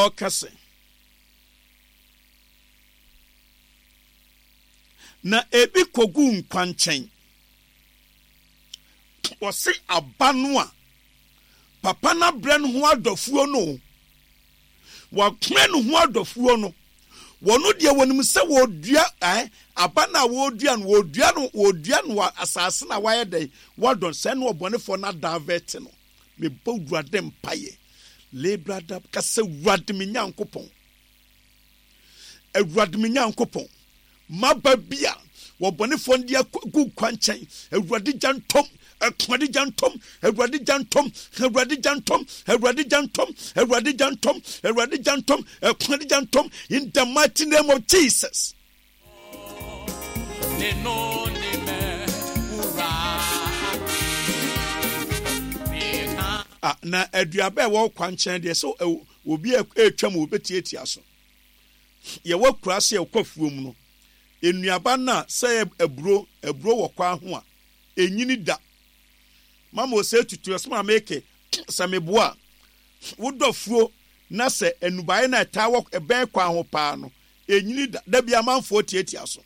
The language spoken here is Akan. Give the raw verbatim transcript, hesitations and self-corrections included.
Ɔka sɛ, na ebi kɔguu nkwankyɛn. Ɔse aba no a papa no abrɛ no ho adɔfoɔ no o, wabrɛ no ho adɔfoɔ no, wɔno deɛ wɔnim sɛ wɔdua eh, aba no a wɔdua no, wɔdua no, wɔdua no wɔ asase no a wayɛ dɛn, wadɔn, sɛ ne ɔbɔnefoɔ no adavɛte no. Mebɔ Awurade mpaeɛ. Lebrada, ka sɛ, Awurade me Nyankopɔn, Awurade me Nyankopɔn, maba bi a wɔbɔnefoɔ no de agu kwankyɛn, Awurade gya ntɔm, Awurade gya ntɔm, Awurade gya ntɔm, Awurade gya ntɔm, Awurade gya ntɔm, Awurade gya ntɔm, Awurade gya ntɔm, Awurade gya ntɔm, in the mighty name of Jesus. Ah, na aduaba a ɛwɔ kwankyɛn deɛ sɛ obi a ɛretwam wɔbɛtiatia so. Yɛwɔ kura sɛ yɛkɔ afuom no, nnuaba no a sɛ aburo, aburo wɔ kwan ho a, ɛnyini da. Mama ɔsɛ tutu ɛsɛ ma meke sɛ meboa a, wodɔ afuo na sɛ nnubaeɛ no a ɛtaa wɔ ɛbɛn kwan ho paa no, ɛnyini da. Da bi amanfoɔ tiatia so.